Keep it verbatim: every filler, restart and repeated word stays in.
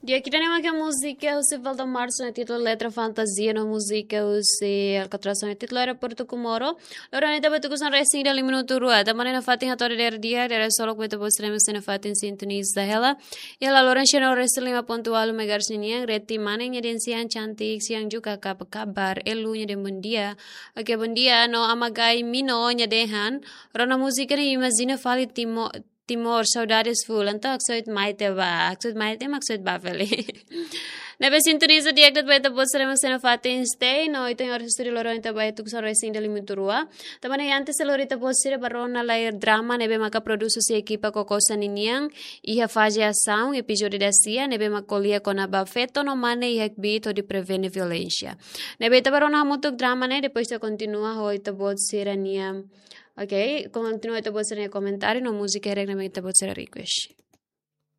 Di'ak, ida-ne'e mak múzika husi Valdo Março, ne'e títulu Letra Fantasia, no múzika husi Alcatraz, ne'e títulu Aeroportu Comoro. Loron ita bá tuku hanesan resin ida liu minutu rua. Tanba ne'e nafatin hato'o dadeer di'ak, dadeer-solok ba ita-boot sira ne'ebé sei nafatin sintoniza hela. Iha laloran sira no resin lima pontu ualu megahertz ninian, Reti Mane nia dehan siang cantik, siang juga, kabar-kabar, Elu nia dehan bondia. Oke, bondia, no Ama Gai Mino nia dehan, rona múzika ne'e imajina fali Timo-, Timor, saudades full. Entaun haksoit mai ita bá, haksoit mai ita, haksoit bá fali. Ne'ebé sintoniza di'ak de'it ba ita-boot sira ne'ebé sei nafatin stay, no ita-nia oras estúdiu loron ita bá tuku hanesan resin ida liu minutu rua. Tanba ne'e antes lori ita-boot sira bá rona lai drama ne'ebé maka produs husi ekipa Kokosa ninian, iha faze asaun, epizódiu dasia, ne'ebé mak ko'alia kona-ba feto no mane iha kbiit hodi prevene violénsia. Ne'ebé ita bá rona hamutuk drama ne'e, depois ita kontinua ho ita-boot sira-nia, oke, kontinua ita-boot sira-nia komentáriu no múzika hirak ne'ebé ita-boot sira request.